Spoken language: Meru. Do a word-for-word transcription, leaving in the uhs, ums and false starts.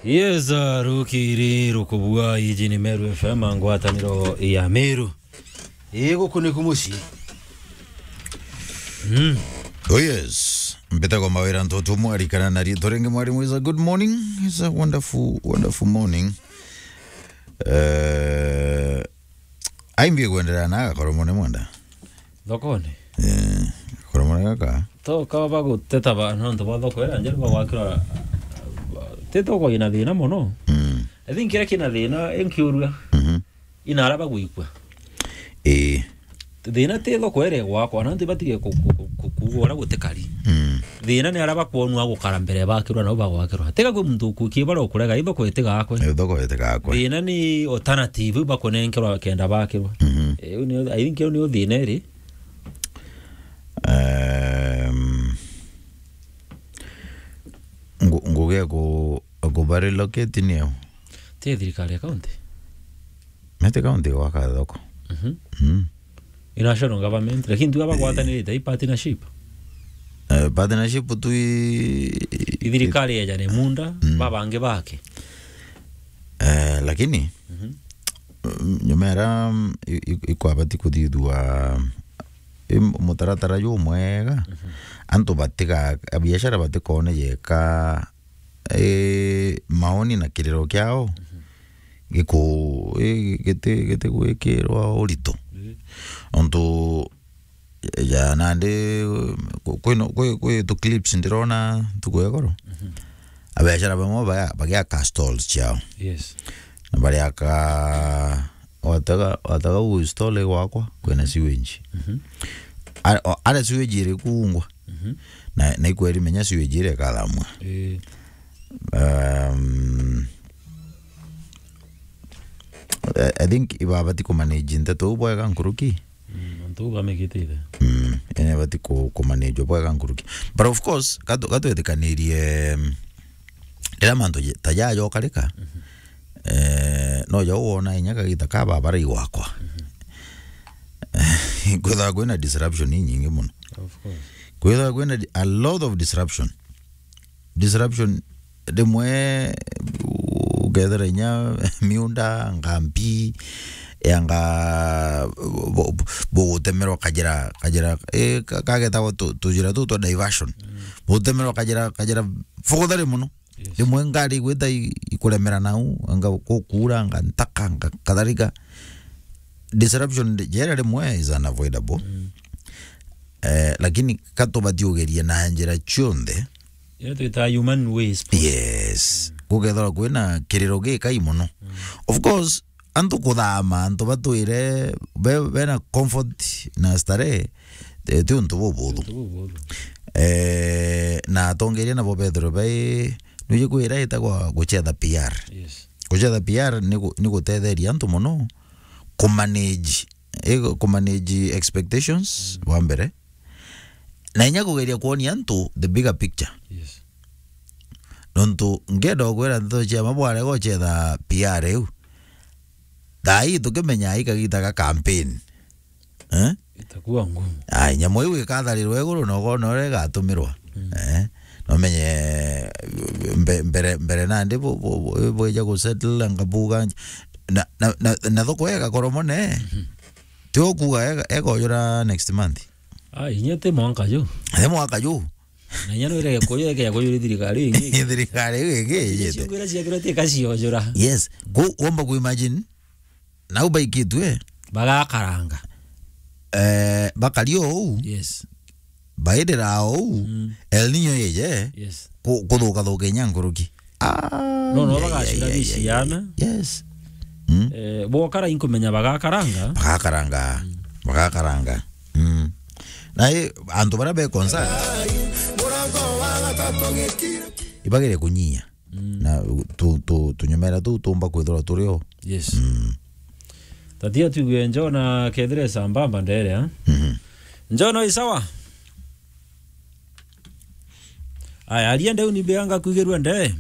Yes, uh, rukiri rukubua, iji ni Meru F M, ngwataniro ya Meru. Ii, guku niku mucii. Mm. Oh yes. Mbitagwa Mawira Ntoto, mwarikana na riitwa ringi Mwarimu. Is a good morning. It's a wonderful, wonderful morning. Eh, aimbie kwenderea na agakorwo mone mwenda. Thokone? Eh, korwo mone gaka. To kaba baguteta ba, nontu ba thoko iria njeru bagwakirwa, ti thoko ina thina mono. Mm. I think kiria kina thina, inkiurua. Mhm. Ina ara bagwikua. Ii. Thina ti thoko iria igwakwa, na nti batige ku-, ku-, ku-, kuugwa uria gutikari. Mm. Thina ni ara bakwonua gukara mbere bakirwa nau bagwakirwa. Tiga kwi muntu ukukie bara ukurega, ithoko itigakwe. Ithoko itigakwe. Thina ni alternative bakunenkerwa kenda bakirwa. Mhm. Eh, u ni, I think u ni thina iri. Ehm, ngu-, ngugi ya ku-, ku ba relocate niyo? Ti thirikari ya county? Mete county gwaka thoko. Mhm. Mm. I national government, lakini tu aba gwatanirite, i partnership. Eh, partnership tu i-, i-, i thirikari yeja ni munda, mm, babangi bake. Eh, lakini, mhm, mm, nyuma era, mm, i-, i-, ikwabati kuthithua, i mutaratara jumwega, mhm, antu batiga, biashara batikone yeka, eh, maoni na kiriro kiao, mhm, giku-, i-, giti-, gitigwikirwa urito. Ii. Ontu ja nandi, ku-, kwino-, kwi, kwi tu clips ndirona ntuku ya igoro. Mhm. Abiashara bamwe ba-, bagiaka stalls ciao. Yes. Na bariaka, watega, watega u stall gwakwa, kwina sewage. Mhm. A-, o-, aria sewage iri kuungwa. Mhm. Na, na ikweri menya sewage iri ikathamua. Ii. Um, I, I think ibabati kumanage nteto u bwega nkuruki. Mm, antu u bamikitite. Mm, ene bati ku-, kumanage bwega nkuruki. But of course, gatu-, gatwetikanirie, mm, riria mantu je-, ta jaja ukarika, mhm, eh, no jau wona inya kagita ka babara igwakwa. Mhm. Kwithaga kwina disruption inyingi mono. Of course. Kwithaga kwina di-, a lot of disruption. Disruption, rimwe ukethira inya miunda, ngambi, yanga bu-, bu-, bugutemerwa kajira, kajira, eh, ka-, kagetagwa tu-, tujira tu twa diversion. Mm. Bugutemerwa kajira, kajira fogothari mono. Yes. Rimwe ngari igwita i-, ikuremera nau, anga gukura, anga ntaka, anga kadhalika. Disruption jera rimwe is unavoidable. Mm. Eh, lakini katubati ugerie na njira cionthe. Ira twitaga human ways. Yes. Mm. Gukethirwa kwina kiriro gikai mono. Mm. Of course, antu kuthama, antu batwire be-, bena comfort na starehe, eh, ti untu bubuthu. Untu bubuthu. Eh, na atongeria nabo bethirwe bai, nuje kwira itagwa gucetha P R. Yes. Gucetha P R ni gu-, ni gutetheria antu mono kumanage, eh, kumanage expectations, mm, wa mbere. Na inya kugeria kwonia antu the bigger picture. Yes. Nontu ngenda ukwira ndeto cia ma bwarega ucetha P R iu. Thaa ii tukimenya i kagita ga campaign. Eh? Itakuwa ngumu. Ai, nyamu iu ikatharirwa iguru na ukona uria igatumirwa. Mm. Eh? Nomenye mbe-, mbere, mbere nandi bu-, bu-, bu-, bwija gusettle anga buga na, na, na, na thoko igakorwo mone. Mhm. Ti ukuga ega-, egojura next month. Ah, inya ti mwanka ju. Ti mwaka ju. Na inya no irege kuyu, ege kuyu ri thirikari ingi. Thirikari iu ingi ijite. Ciugira ciakirwa ti kaciojura. Yes. Ku-, womba ku imagine, nau baikitwe. Bagakaranga. Eh, bakari o uu. Yes. Bairira o uu. Mm. El Niño ije. Yes. Ku-, kuthuka thuka inya nkuruki. Ah, no, no, ya, ya, bagacira ya, ya, ya. Biciana. Yes. Mm. Eh, bokara inkumenya bagakaranga. Bagakaranga. Mm. Bagakaranga. Mm. Na i, antu baria be concern, ibagire kunyia. Mm. Na tu, tu, tunyumera tu tumba kwithirwa turi o. Yes. Mm. Tatia tuigue Njona kethire sambamba ndere, ha? Mhm. Njona, i sawa? Aya, aria ndeu ni mbeanga kwigirua ndee.